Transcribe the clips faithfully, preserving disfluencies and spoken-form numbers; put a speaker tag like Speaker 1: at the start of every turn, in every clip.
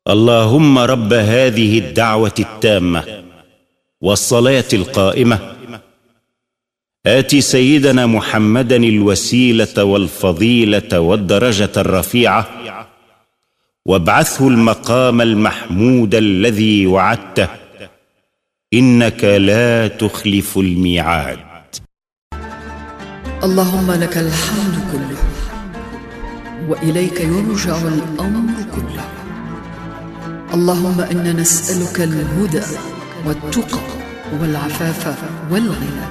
Speaker 1: اللهم رب هذه الدعوة التامة والصلاة القائمة، آت سيدنا محمدا الوسيلة والفضيلة والدرجة الرفيعة، وابعثه المقام المحمود الذي وعدته، إنك لا تخلف الميعاد.
Speaker 2: اللهم لك الحمد كله، وإليك يرجع الأمر كله. اللهم إنا نسألك الهدى والتقى والعفاف والغنى.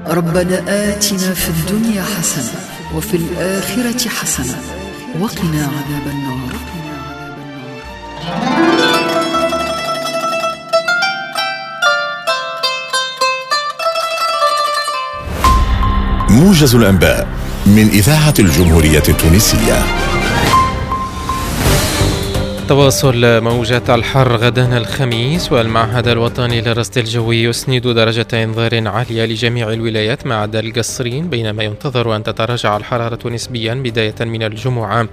Speaker 2: ربنا آتنا في الدنيا حسنة وفي الآخرة حسنة وقنا عذاب النار.
Speaker 3: موجز الأنباء من إذاعة الجمهورية التونسية.
Speaker 4: تواصل موجات الحر غدا الخميس، والمعهد الوطني للرصد الجوي يسند درجة إنذار عالية لجميع الولايات ما عدا القصرين، بينما ينتظر أن تتراجع الحرارة نسبيا بداية من الجمعة،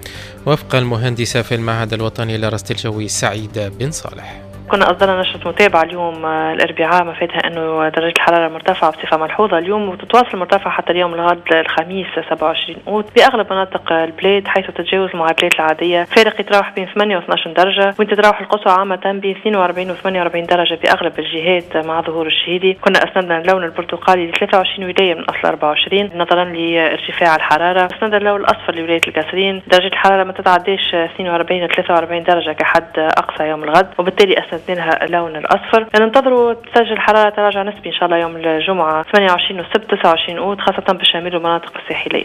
Speaker 4: وفق المهندسة في المعهد الوطني للرصد الجوي سعيد بن صالح.
Speaker 5: كنا أصدرنا نشرة متابعة اليوم الأربعاء مفادها أنه درجة الحرارة مرتفعة بصفة ملحوظة اليوم، وتتواصل مرتفعة حتى اليوم الغد الخميس سبعة وعشرين أوت بأغلب مناطق البلاد، حيث تتجاوز المعدلات العادية فارق يتراوح بين ثمانية واثني عشر درجة، وين تتراوح القصوى عامة بين اثنين وأربعين وثمانية وأربعين درجة بأغلب الجهات مع ظهور الشهيدي. كنا أسندنا اللون البرتقالي ل ثلاثة وعشرين ولاية من أصل أربعة وعشرين نظرا لارتفاع الحرارة. أسندنا اللون الأصفر لولاية القصرين، درجة الحرارة ما تتعداش اثنين وأربعين إلى ثلاثة وأربعين درجة كحد أقصى يوم الغد، وبالتالي أسندنا لها اللون الأصفر. ننتظروا تسجل حرارة تراجع نسبي إن شاء الله يوم الجمعة ثمانية وعشرين والسبت تسعة وعشرين أوت، خاصة بالشمال والمناطق الساحلية.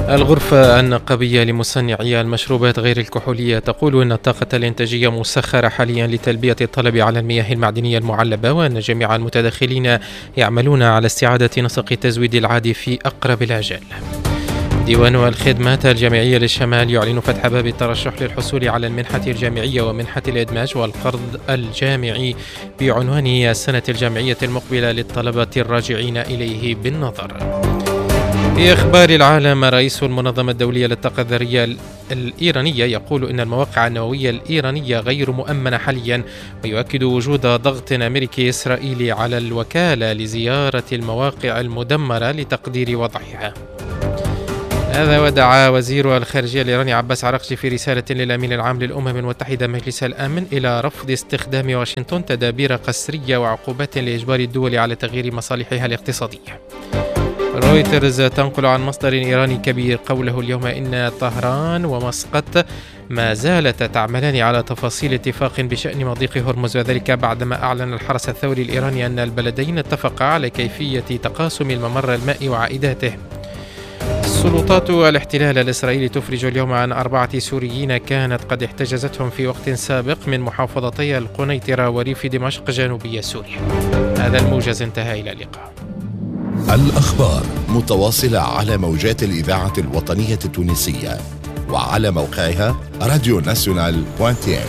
Speaker 4: الغرفة النقابية لمصنعي المشروبات غير الكحولية تقول أن الطاقة الإنتاجية مسخرة حاليا لتلبية الطلب على المياه المعدنية المعلبة، وأن جميع المتدخلين يعملون على استعادة نسق التزويد العادي في أقرب الآجال. ديوان الخدمات الجامعية للشمال يعلن فتح باب الترشح للحصول على المنحة الجامعية ومنحة الإدماج والقرض الجامعي بعنوان السنة الجامعية المقبلة للطلبة الراجعين إليه بالنظر. في أخبار العالم، رئيس المنظمة الدولية للطاقة الذرية الإيرانية يقول إن المواقع النووية الإيرانية غير مؤمنة حاليا، ويؤكد وجود ضغط أمريكي إسرائيلي على الوكالة لزيارة المواقع المدمرة لتقدير وضعها. هذا ودعا وزير الخارجية الإيراني عباس عراقجي في رسالة للأمين العام للأمم المتحدة مجلس الأمن إلى رفض استخدام واشنطن تدابير قسرية وعقوبات لإجبار الدول على تغيير مصالحها الاقتصادية. رويترز تنقل عن مصدر إيراني كبير قوله اليوم إن طهران ومسقط ما زالتا تعملان على تفاصيل اتفاق بشأن مضيق هرمز، وذلك بعدما أعلن الحرس الثوري الإيراني أن البلدين اتفقا على كيفية تقاسم الممر المائي وعائداته. سلطات الاحتلال الإسرائيلي تفرج اليوم عن أربعة سوريين كانت قد احتجزتهم في وقت سابق من محافظتي القنيطرة وريف دمشق جنوبي سوريا. هذا الموجز انتهى، إلى اللقاء.
Speaker 3: الأخبار متواصلة على موجات الإذاعة الوطنية التونسية وعلى موقعها راديو ناسيونال point tn.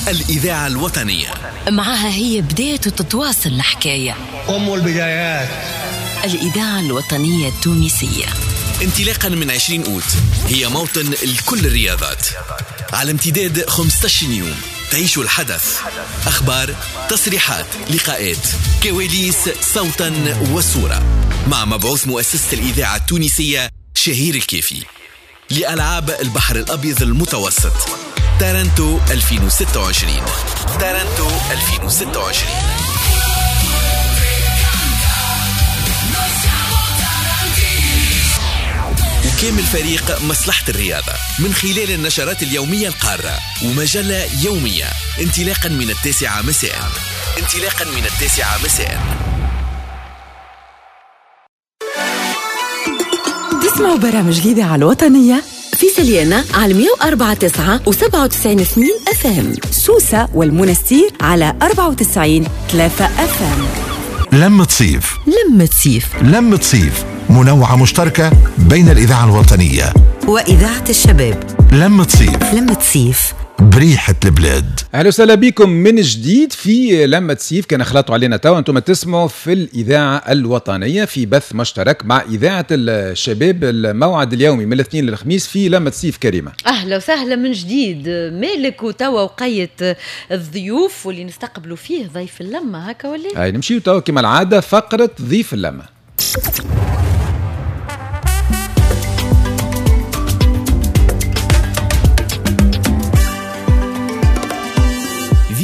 Speaker 6: الإذاعة الوطنية
Speaker 7: معها هي بداية تتواصل الحكاية،
Speaker 8: أم البدايات.
Speaker 7: الإذاعة الوطنية التونسية
Speaker 6: انطلاقا من عشرين أوت هي موطن لكل الرياضات، على امتداد خمسة عشر يوم تعيشوا الحدث، أخبار، تصريحات، لقاءات، كواليس، صوتا وصورة، مع مبعوث مؤسسة الإذاعة التونسية شهير الكافي لألعاب البحر الأبيض المتوسط تارنتو ألفين وستة وعشرين. تارنتو ألفين وستة وعشرين. وكامل فريق مصلحة الرياضة من خلال النشرات اليومية القارة ومجلة يومية انطلاقا من التاسعة مساء. انطلاقا من التاسعة مساء.
Speaker 9: تسمعوا برامج الإذاعة الوطنية
Speaker 7: في سليانة على مية وأربعة تسعة وسبعة وتسعين اثنين FM،
Speaker 9: سوسة والمنستير على أربعة وتسعين ثلاثة FM.
Speaker 3: لمة صيف،
Speaker 7: لمة صيف،
Speaker 3: لمة صيف، منوعة مشتركة بين الإذاعة الوطنية
Speaker 9: وإذاعة الشباب.
Speaker 3: لمة صيف،
Speaker 9: لمة صيف
Speaker 3: بريحة البلاد.
Speaker 8: اهلا وسهلا بكم من جديد في لمة سيف. كان خلطوا علينا توا، انتم تسمعوا في الاذاعة الوطنية في بث مشترك مع اذاعة الشباب، الموعد اليومي من الاثنين للخميس في لمة سيف. كريمة
Speaker 10: اهلا وسهلا من جديد مالك، وتوا وقيت الضيوف واللي نستقبلوا فيه ضيف اللمة هكا ولا؟
Speaker 8: هاي نمشيو توا كما العادة فقره ضيف اللمة.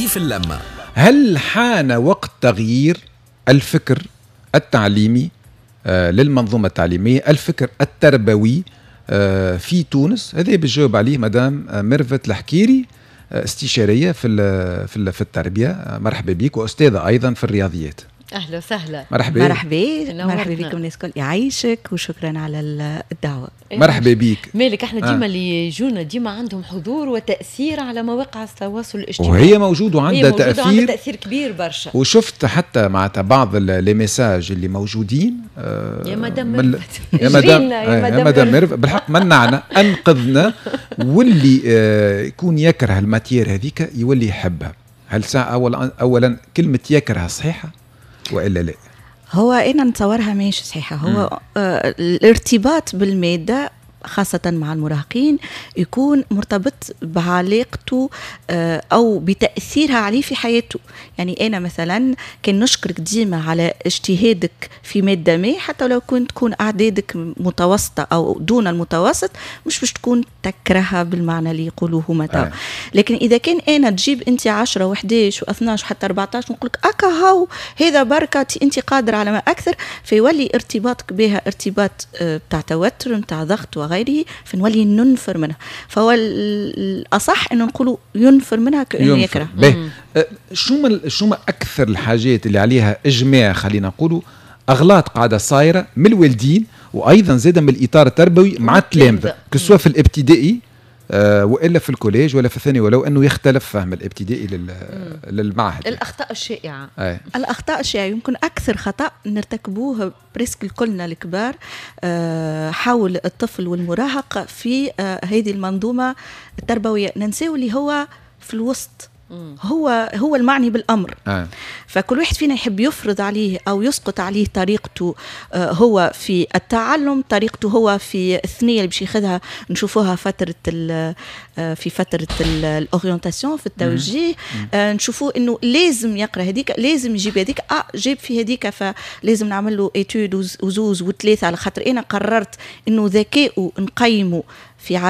Speaker 6: في اللمة.
Speaker 8: هل حان وقت تغيير الفكر التعليمي آه للمنظومة التعليمية، الفكر التربوي آه في تونس؟ هذا بيجاوب عليه مدام ميرفت الحكيري، آه استشارية في في في التربية. آه مرحبا بك، وأستاذة أيضا في الرياضيات.
Speaker 10: اهلا وسهلا.
Speaker 8: مرحبا.
Speaker 9: مرحبا مرحبا بكم الناس الكل، يعيشك وشكرا على الدعوة.
Speaker 8: مرحبا بك
Speaker 10: مالك. احنا ديما آه. اللي يجونا ديما عندهم حضور وتاثير على مواقع التواصل الاجتماعي،
Speaker 8: وهي موجود وعندها تاثير،
Speaker 10: وعندها تاثير كبير برشا.
Speaker 8: وشفت حتى مع بعض les messages اللي موجودين
Speaker 10: آه يا مدام ميرفت،
Speaker 8: يا مدام يا مدام ميرفت بالحق منعنا انقذنا، واللي آه يكون يكره ال matière هذيك يولي يحبها. هل ساعة اولا اولا كلمة يكرهها صحيحه والا لا؟
Speaker 9: هو انا نتصورها ماهيش صحيحه. هو آه الارتباط بالماده خاصة مع المراهقين يكون مرتبط بعلاقته آه أو بتأثيرها عليه في حياته. يعني أنا مثلا كان نشكرك ديما على اجتهادك في مادة ما، حتى لو كنت تكون أعدادك متوسطة أو دون المتوسط، مش باش تكون تكرهها بالمعنى اللي يقولوه هما تو. لكن إذا كان أنا تجيب أنت عشرة وحداش واثناش وحتى أربعتاش ونقولك أكا هاو هذا بركة أنت قادر على ما أكثر، فيولي ارتباطك بها ارتباط بتاع توتر بتاع ضغط وغيره، فنولي ننفر منها. فهو الأصح أنه نقولوا ينفر منها كأنه يكره.
Speaker 8: أه شو ما شو ما أكثر الحاجات اللي عليها إجماع، خلينا نقولوا أغلاط قاعدة صايرة من الوالدين وأيضا زادة من الإطار التربوي مع التلامذة، que ce soit في الابتدائي آه والا في ال collège ولا في الثاني، ولو انه يختلف فهم الابتدائي لل... للمعهد.
Speaker 10: الاخطاء الشائعة.
Speaker 8: أي.
Speaker 9: الاخطاء الشائعة يمكن اكثر خطا نرتكبوه presque كلنا الكبار آه حول الطفل والمراهق في آه هذه المنظومة التربوية، ننساو اللي هو في الوسط، هو هو المعني بالامر.
Speaker 8: آه.
Speaker 9: فكل واحد فينا يحب يفرض عليه او يسقط عليه طريقته هو في التعلم، طريقته هو في الثنية اللي باش ياخذها، نشوفوها فترة في فترة ال orientation في التوجيه. آه نشوفوه انه لازم يقرا هذيك، لازم يجيب هذيك، اه جاب في هذيك فلازم نعمل له étude وزوز وثلاثة، على خاطر انا قررت انه ذكائه نقيمه في عدد